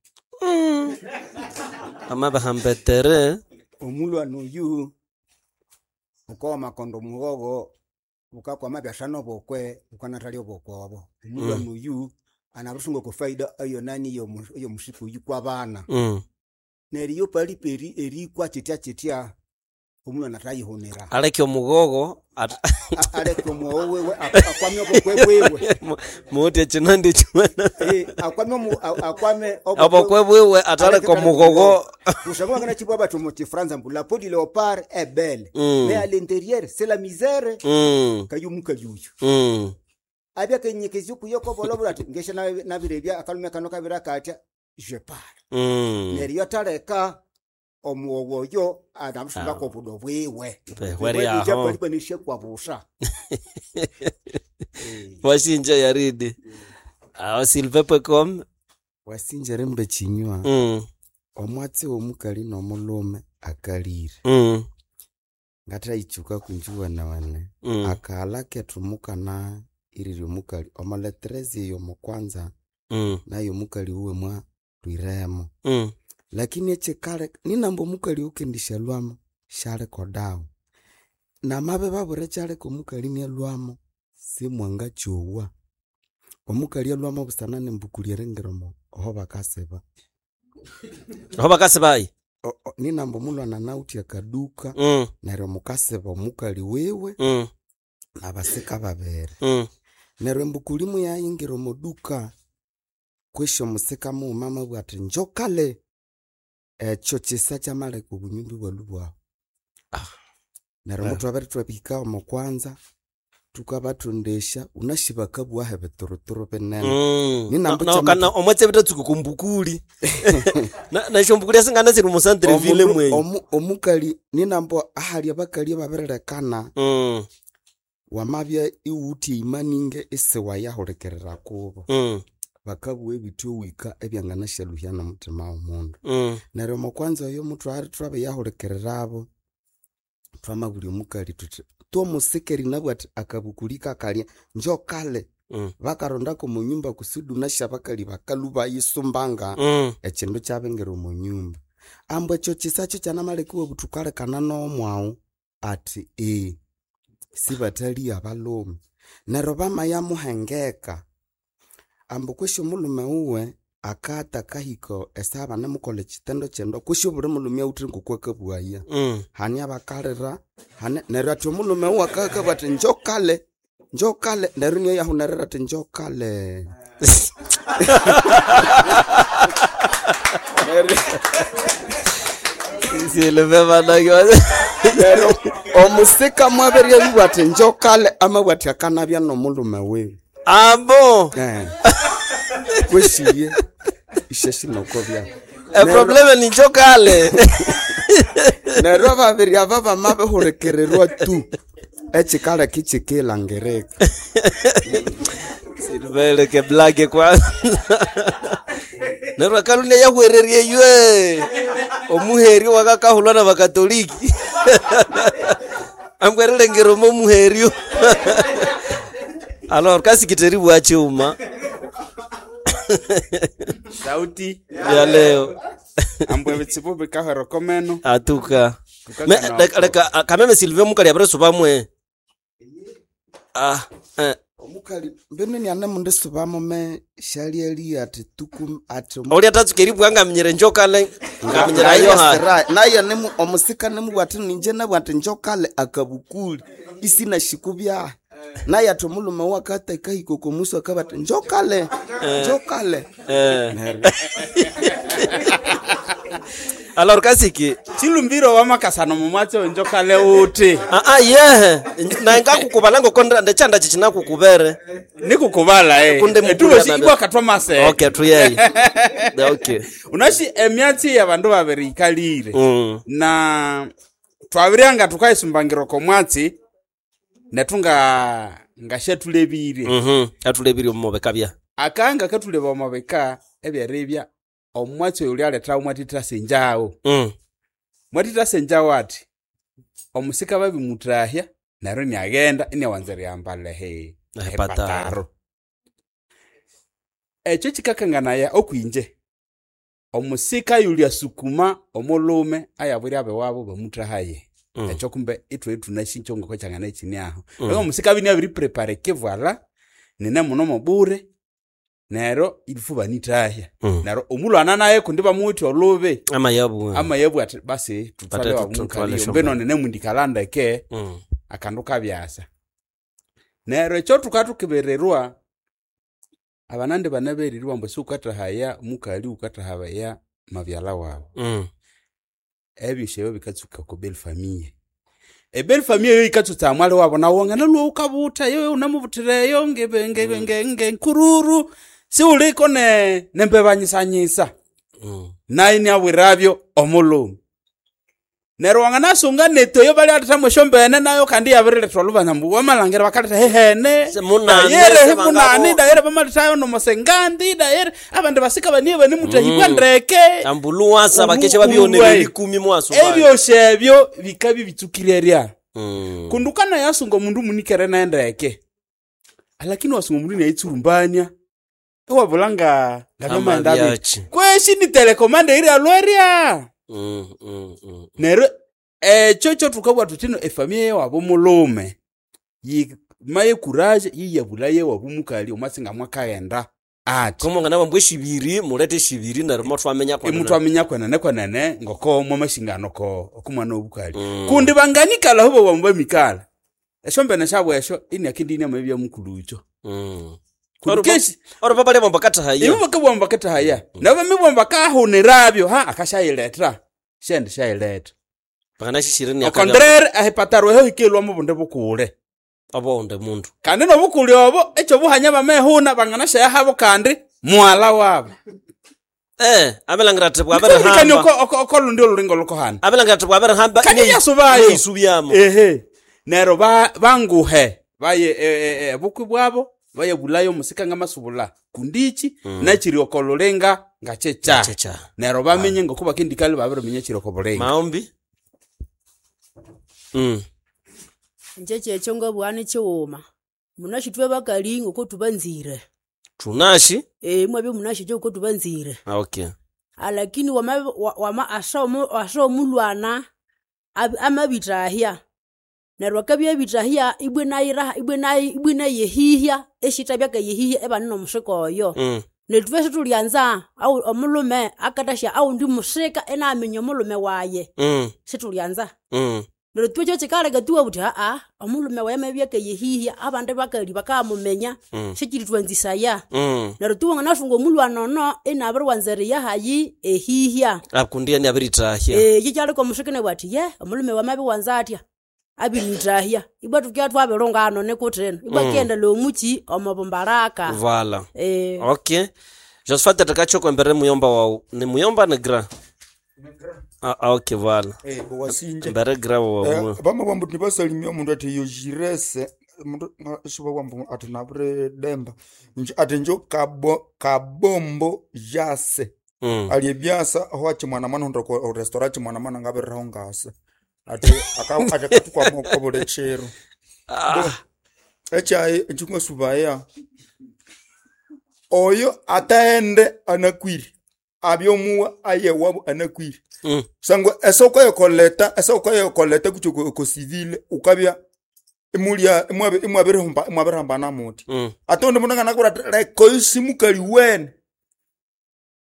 Amabihamba etere. Omulhwana oyu wukawa amakondo omughogho bukakwama byasa nobukwe bukanathalya obukwe obo. Omulhwana oyu anabirisunga okwa faida eyenani eyomusika oyu kwabana. Mm. Neryo iyo pali peri erikwa kyityakyitya omulhwana athayihunira. Aleke omughogho at- Aleke omughogho wiwe akwame obukwe bwiwe. Muwithe ekyinandi kyimana. Akwame omu- akwame Obukwe bwiwe athaleka omughogho. Kusangwa bakanakyibugha bathi omu kifranza ambu la peau du léopard est belle. Mm. Mais à l'intérieur c'est la misère. Mm. Kayo omukali oyu. Mm. Abya akanyekezya okuyo kobolobolo athi ngesya nabirebya akalhume kano kabira kathya je pars. Mm. Neryo athaleka omughogho oyo anabirisunga kobudo bwiwe. Behweri aho. Palipanisya busa. Wasinja yaridi. Aho Sylvain Pwecom. Wasinja erimba ekinywa. Mm. Omwatsi womukali nomulhume akalire. Mm. Ngathayitsuka kwinji wene Mm. Akaghalha kethu mukana irirya omukali omo letreze eyo omukwanza Mm. nayo omukali wuwe mwalhwiremo. Mm. Lakini ekyikaleka ninamba omukali oyukendisya lhwamo syaliko dawe. Namabya babwira ekyaleka omukali inalhwamo simwangakyowa. Omukali alhwamo busana nembukuli eringira omo aho bakasiba. Aho bakasibayi? Ninamba omulhwana anawithe akaduka Mm. neryo mukasiba omukali wiwe Mm. nabasika babiri. Mm. Neryo embukuli muyayingira omo duka kwesi omusika mughuma amabugha athi njokale ekyo kyisa kyamaleka obunyumba ibwalhwa ibwahu. Neryo Eh. muthwabere ithwabihika omo kwanza thukabathondesya wunasi bakabughaho ebituruturu binene. Mm. Ninamba Na- kyama- kana omwatsi ebitatsuka okwambukuli. Na- nesyombukuli esingana siri omu centre ville Omundu- mwenyu. omu- omukali ninamba ahali abakali ababirilekana Mm. wamabya iwuwithe imaninge isiwayahulikirira kubo. Mm. Bakabugha ebithi wika ebyanganasyaluhya nomuthima womundu. Mm. Neryo omokwanza oyo muthwali thwabiyahulikirirabo thwamabulya omukali thuthi twomusika erinabugha athi akabukuli kakalya njokale. Mm. Bakarondako omonyumba kusudi wunasi abakali bakalhwa bayisumbanga Mm. ekyindu kyabingira omonyumba. Ambu ekyo kyisa kyo kyanamaleka iwabugha wukalekana nomwaghu athi eghe sibathalya abalhume. Neryo bamayamuhengeka ambu kwesi omulhume wuwe akatha akahika esaha banemukolha ekyitendo kyendoa kwesi obuli mulhume awithe ngoko akabughaya. Mm. Hane abakalira, hane neryo athi omulhume wuwe akabugha athi njokale, njokale neryo inayahunerera athi njokale. Sylvain banange. Neryo omusika mwabirya athi njokale amabugha athi akanabya nomulhume wiwe. Ambo. Eh. Kwesiye isyasinoko byahu. Eprobleme ni njokale. Neryo ababiri aba bamabihulikirirwa tu ekyikaleka ikyikilangirika. Sylvain leke blage kwanza. Neryo akalhunya yahwererye ywe. Omuheryo wakakahulwa nabakatoliki. Ambu erilengera omo muheryo. Alors kasikitheri bwa kyuma. Sauti Ya leo. Ambu ebitsibu bikahwera oko meno. Atuka. Tukakana Me, leka, leka kameme Sylvain mukali abirisuba Ah, eh. Omukali mbinu nianemundisubamo me syalyalya athi tuku athi Olya tatsuka eribugha ngaminyira enjokale ngaminyira yo ha. Naye nimu omusika nimubugha athi ninje nabugha athi njokale akabukuli isinahika byahi. Naye athi omulhume wuwe akatha akahika oko musu akabugha athi njokale Eh. njokale. Eh. Neryo Alors kasiki Chilumbiro wamakasano mumwatsi onjokale uti. Ah ah yehe na ngakukubala ngoko ndechanda chichinakukubere Nikukubala eh. Kunde Etulosi ibwa katwa mase. Okay tuyeye. Okay. Unashi emyatsi y'abandu babiri ikalire. Mm. Na twabiryanga tukaisumbangiro komwatsi netunga ngashatulebire. Mhm. Atulebire omubeka bya. Akanga katuleba omubeka ebyerebya omwatsi oyo ulyaleta omwatita senjawo. Mm. Mwatita senjawo ati omusika babimutahya neryo iniaghenda iniawanza eriyambala ehe Ehepataro. Ekyo kikakanganaya okwinje omusika yulya sukuma omulume ayabwire abewabo bamuthahaye. Mm. Ekyo kumbe ithwe thunashicho ngoko kyangana ekini aho. Mm. Neryo omusika abya iniabiriprepare ekivalha nine muno mobure neryo ilifu banithahya. Mm. Neryo omulwana naye kundi bamuwithe olubi Amayabu. amayabu ati basi tuthwale Bate wabumukali tuthwale mbino shombene. nine mundikala ndeke Mm. akandu kabyasa. Neryo ekyo thukathukibirirwa abanandi banaberirwa ambu siwukathahaya mukali wukathahaya mabyalha wawu. Mm. Ebyosi ebyo bikatsuka oko belle famille. Ebelle famille eyo yikatsutsa mwali wabo nawu wanganalhwa wukabutha yoyo wunamubuthira eyo ngebe- nge- nge- ngenkururu siwuliko ne nembebanyisanyisa. Mm. Nayo iniabwirabyo omulhume. Neryo wanganasunga nethu eyo balyalethamu esyombene nayo kandi iyabiriletha olhubanza ambu wamalhangira bakaletha hehene Munani, dayere sebangabo. munani dayere bamalethayo nomosengandi dayere abandi basika baniye banimuthahibwa Mm. ndeke Ambuluwasa bakeshe Ulu- babionere uluwe. likumi mwaso. Ebyosi ebyo bikabya bitsukire erya. Mm. Kundi ukanayasunga omundu munikere nendeke alakini wasunga omundu inayitsurumbania iwabula nga ngabyamaghenda biti. Amabyachi. Kweshi ni telekomanda iryalwa erya. Mm, mm, mm. Neryo ekyo kyothukabugha thuthi ino efamiya yewabo mulhume yimaye kuraje yiyabulaye ewabo mukali omwatsi ngamwakaghenda ati. Komo nganabambwa eshibiri mulete eshibiri neryo mothwamenya kwenene. Imutwaminya kwenene kwenene ngoko mwamashingano ko okumwana obukali. Mm. Kundi banganikala aho bawambu bamikala. Esyombene syabo esyo iniakindi iniamabya mukulhu Mm. Kundi kesi Oro babalya bamba kathahaya. Ibo bakabugha bakatahaya. Nabo bamibugha bakahunirabyo ha akashayiletha. Shendi shayiletha. Bakanashishire ni Au contraire ehepataro eho hikelwa mubundi bukule. Obonde mundu. Kandi nobukule obo ekyo buhanya bamehuna banganashayahabo kandi mwala wabo. Eh, abelangira ati Nikumbikani bwabirihamba. oko oko oko lundi olulinga olukohana. Abelangira ati bwabirihamba. Kandi yasubayo. Isubyamo. Ehe. Neryo ba banguhe baye e, e, e, bukwi bwabo bayabulayo omusika ngamasubula kundichi Mm. nakiri oko lulinga ngakyekya. Ngakyekya. Neryo bamenye ngoko bakindikali babiriminya ekiri oko bulinga. Maombi. Mm. Inje kyekyo ngabugha nikighuma. Munashi ithwe bakali ngoko thubanzire. Thunashi? Eh mwabya munashi ithwe ngoko thubanzire. Ah, okay. Alakini wama wama asa omu asa omulwana ab- amabithahya. Neryo akabya abithahya ibwe nayiraha ibwe nayi ibwe nayehihya esithabya akayehihya ebane nomusika oyo. Mm. Nethu ithwe sithulyanza awu omulhume akathasya awundi musika inaminya omulhume waye. Mm. Sithulyanza. Mm. Neryo ithwe kyekikaleka thuwa thuthi aa omulhume wayi amabya akayehihya abandi bakali bakamuminya Mm. sikiritwanzisaya. Mm. Neryo thuwa wanganasunga omulwana ono inabiriwanza eriya hayi ehihya. Akundi yani abirithahya. Eh kikyaleka omusika inabugha athi ye omulhume wayi amabiwanza athya abirithahya. Ibwa thukibya thwabirilungana nikuthino. Ibwa Mm. akiyendelea omuki omobumbalaka. Vala. Eh. Okay. Josephat atakachoko embere muyomba wawu. Ni muyomba ni gra? Ah, ah, okay vala. Eh, wasinje. Embere gra wawu. Eh, bamabwambu nibasalimia omundu ati yojirese mundu sibawambu ati nabiridemba Nje- ati njo kabo, kabombo jase Mm. ali ebyasa aho achimwanamwana hundi ko restaurant chimwanamwana ngabiriraho ngasa ati aka- ati akatukwama obuli kiro Ah. ekyayi ekyingasubaya oyo ataende anakwire abyomuwa ayewabu anakwire Mm. sangwa esoko yekoleta esoko yekoleta kucho ko civil ukabya imulya imwabe imwabirihumba imwabirihambana muti Mm. ate undi mundu anganakubwira ati leka oyu simukali wene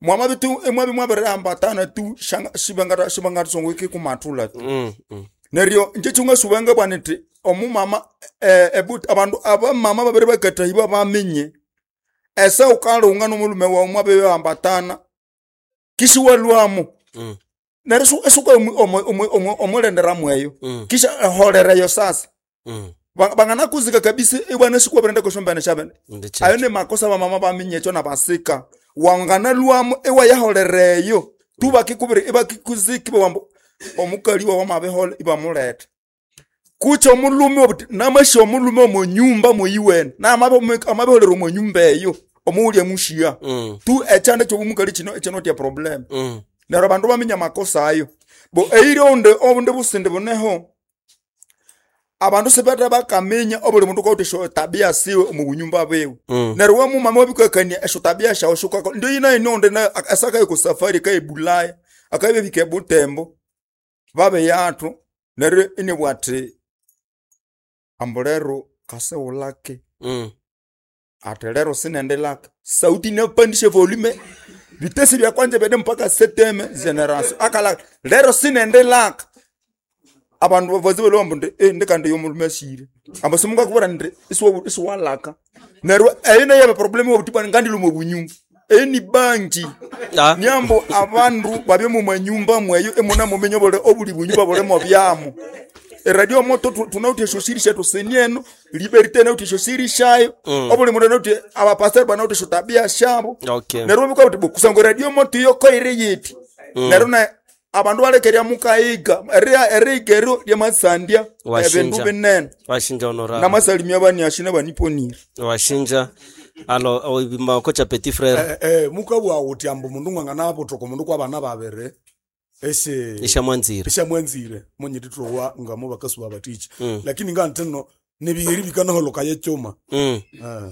mwamabitu imwabi mwabirihambatana tu shanga- shibangata shibangatisongo ikikumathula tu Mm. Mm. neryo inje kyungasuba bwana nti omumama eh, ebu- abandu abamama babiri bakatahibwa bamenye ese ukalunga nomulume wawu mwabirihambatana kisiwalwamo Mm. Neryo isu- isuka omulendera mweyo Mm. kisha eholereyo sasa Mm. Ba- banganakuzika kabisa ibwana sikwabirenda koshombene shabene Ndi checho. ayo ni makosa bamama baminyekyo nabasika wanganalwamo iwayaholereyo tu bakikubiri ibakikuzika ibawambu omukali wawa mabihole ibamuleta kucha omulume obuti namasha omulume omonyumba moyiwene namabiholera omonyumba eyo omuwulya mushiya Mm. tu ekyanda kyobumukali kino ekinotia problem Mm. neryo abandu baminya amakosa ayo bo eiri onde obunde busindi buneho abandu sibete bakaminya obuli mundu kawuthe esyo tabia siwe omu bunyumba biwe Mm. neryo wamumama wabikakania esyo tabia syawu syukako ndio yinayi onde asakaye ku safari akaye bulaya akabebika ebutembo babe yathu neryo inibwa athi ambu lero kasiwulake Mm. ati lero sinendilaka sauti inapandisha volume vitesi vya kwanja vyene mpaka seteme generation akala lero sinendilaka abandu vazi vali ndi eh, ndikandi yomulume ashire amba simungakuvura ndi isiwa- isiwalaka neryo eyo neyaba problem wobutibwana ngandiluma obunyumba eyo ni banji niambo abandu babye mumanyumba mweyo emuna mumenye bole obuli bunyumba bulemo byamo eradio moto tu- tunauti esyo siri shetu senieno liberté nauti esyo siri shayo Mm. obuli mundu nauti abapastori banauti esyo tabia shabo Okay. neryo bikwa buti kusanga radio moto iyo koire yiti Mm. neryo na abandu balekerya mukayiga eri- eriyiga eryo lyamasandya ebindu Washinja. binene Washinja honorable. namasalimia baniashine baniponire Washinja. Alo oibima kocha petit frère. Eh, eh, mukabwa uti ambu mundu ng'ang'anabuthuka omundu kwabana babiri esi Ishamwanzire. ishamwanzire munyitithowa ngamo bakasuba baticha Mm. lakini ngantino nibiheri bikanaholoka yekyuma Mm. Eh,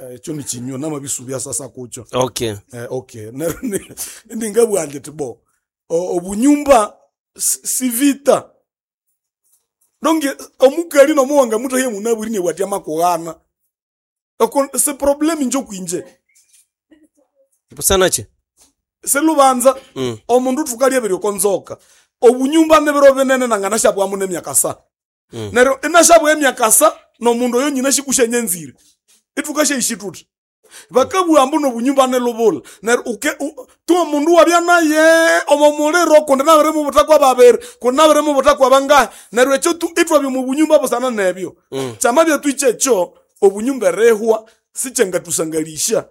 eh, ekyo nikinywa namabisubya sasa kukyo Okay. Eh, okay Neryo ni- ningabugha nti bo o- obunyumba si si vita donge omukali nomuwanga mutahye munabwiri nebwatya makughana Oko- si problem inje kwinje Busanachi. selubanza Mm. omundu thukalya okonzoka obunyumba nibiro binene nanganashabwamu nemyakasa Mm. neryo inashabwa emyakasa nomundu oyo nyina shikushanyenzire ithukashayishi thuthi bakabugha ambu nobunyumba nilubula neryo uke u- tu omundu wabya naye omo muliro kundi nabiri mubuthakwa babiri kundi nabiri mubuthakwa bangahi neryo ekyo tu ithwabya omu bunyumba busana nebyo Mm. kyamabya twikye obunyumba erihwa sikyangathusangalisya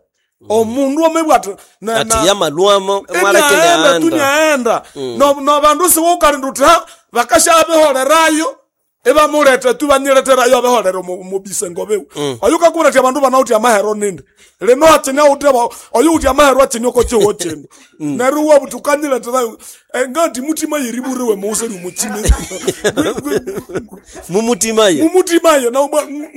omundu amabwa athi na- Ati na- yamalwamo mwalekele inaenda anda. tunyaenda Mm. no no bandu siwukalinda uthi ha bakashabiholerayo ibamuleta tu banyileterayo abiholera mubisengo biwe Mm. oyu kakuletea abandu banawuthi amahero nindi lino akyine awuthi oyu uthi amahero akyine okokiwo kino neryo wabuthi ukanyileterayo Eh, ngati mutima yeriburiwe muuseri muchine Mumutimaye. mumutimaye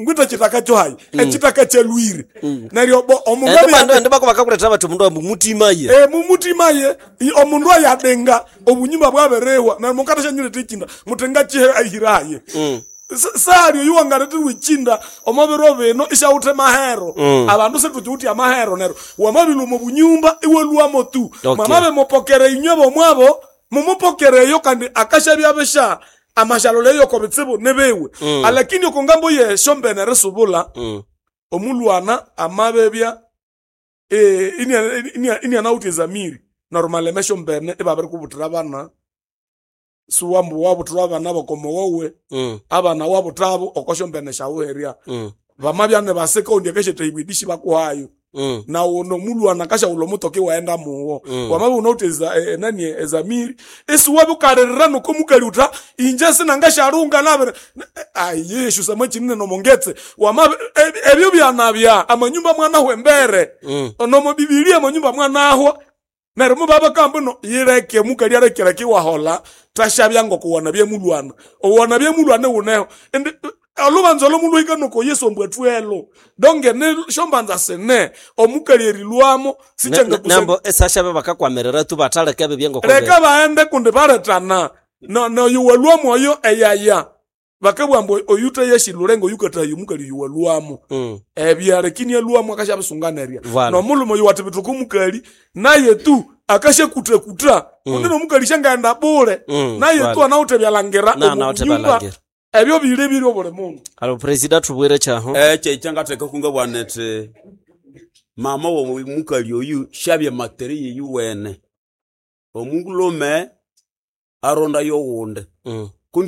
ngwita chitaka kyo hayi echitaka kyalwire neryo bo omundu Ende ende bako bakakuletera bati omundu ambu mutimaye. Eh, mumutimaye i- omundu ayadenga obunyumba bwaberehwa na mukatasha echinda mutenga chihe ahiraye Mm. sali oyu wangareterwa echinda omobiro bino ishawuthe mahero Mm. abandu situchiwuthe amahero neryo wamabilwa obunyumba iwalwamo tu Okay. mwamabe mupokere inywe bomwabo mumupokereyo kandi akashabya bisha amashalo leyo kobitsibu nibiwe Mm. alakini okongambo yeshombene erisubula Mm. omulwana amabebya eh, inianawuthe ezamiri neryo maleme shombene ibabirikubuthira abana siwambu wabuthirwa abana bokomowowe Mm. abana wabuthabo okoshombene shawuherya Mm. bamabya nibasika undi akashetahibwa edishi bakuhayo Mm. nawo nomulwana akashawula omutoka iwaghenda muwo Mm. wamabya unawuthe eza- e- enani ezamiri isiwabya ukalirira nokomukali utha inje sinangashalunga nabiri ayi samachinine nomongetse wamabya e- ebyo byanabya amanyumba mwanahwa embere Mm. nomobibilia amanyumba mwanahwa neryo mubabakamba no yileke mukali alekeleke iwahola tashabya ngokuwana byemulwana owana byemulwana wuneho indi olubanza olomulwahika noko yesu ombwathuelo donge nishombanza sine omukali erilwamo sichanga Nambo esashabe bakakwamirira tu bataleka bibye ngoko. leka baende kundi baletana no no yuwalwamo oyo eyaya bakabugha ambu oyuthe yeshilule oyukathayo omukali yuwalwamo Mm. ebya lakini alwamo akashabisunganerya Voilà. nomulume oyo wathibithuka omukali naye tu akashakuta-kuta Mm. kundi nomukali shangaghenda bule Mm, naye voilà. tu anawuthe byalhangira Na- omu anawuthe bunyumba, byalhangira. ebyo bili biri obuli mundu Alo president tubwire chaho. ekyo ekyangatheka kungabwana ethi mama womukali oyu syabya materi yeyu wene Omulhume aronda yoghundi.